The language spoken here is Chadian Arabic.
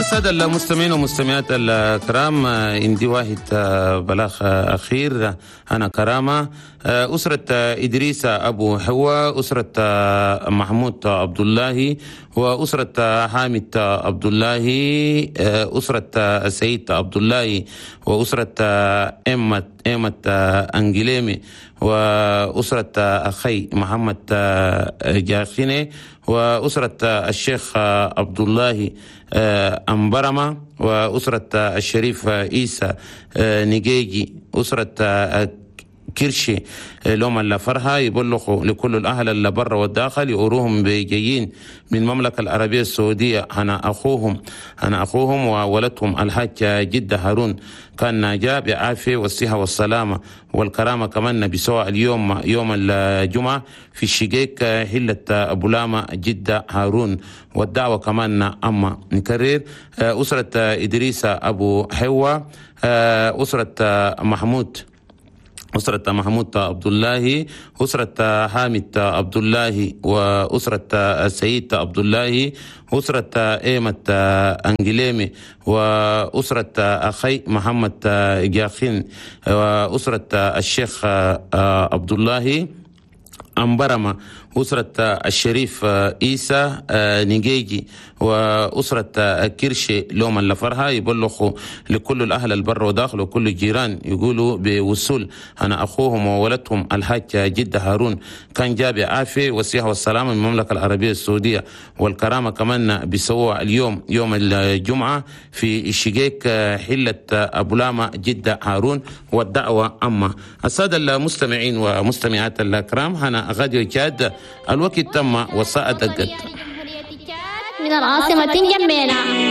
السادة المستمعين والمستمعات الكرام، عندي واحد بلاغ أخير. أنا كرامة أسرة إدريس أبو حوا، أسرة محمود عبد الله، وأسرة حامد عبد الله، أسرة سعيد عبد الله، وأسرة إمة أنجليمي، وأسرة أخي محمد جاخيني، وأسرة الشيخ عبد الله أمبرمة، وأسرة الشريف عيسى نجيجي، أسرة كرشي لهم الفرحة يبلغوا لكل الأهل اللي برا والداخل يقروهم بجايين من المملكة العربية السعودية. أنا أخوهم وولدهم الحاج جدة هارون كان جاء بعافية والصحة والسلامة والكرامة، كمان بسوا اليوم يوم الجمعة في الشقيق حلة أبو لاما جدة هارون، والدعوة كمان أما نكرر أسرة إدريس أبو حوا، أسرة محمود عبد الله، أسرة حامد عبد الله، وأسرة سعيد عبد الله، أسرة إيمة أنجليمي، وأسرة أخي محمد جاخين، وأسرة الشيخ عبد الله أمبرمة، أسرة الشريف عيسى نجيجي، وأسرة كرشي لوم اللفرها يبلغوا لكل الأهل البر وداخل وكل الجيران يقولوا بوصول أنا أخوهم وولدهم الحاج جدة هارون كان جاب عافية والصحة والسلامة من المملكة العربية السعودية والكرامة، كمان بيسووا اليوم يوم الجمعة في الشقيق حلة أبو لاما جدة هارون، والدعوة أما. السادة المستمعين ومستمعات الكرام، هنا غاديو تشاد، الوقت تم والساعة دقت. من العاصمة نجمينا.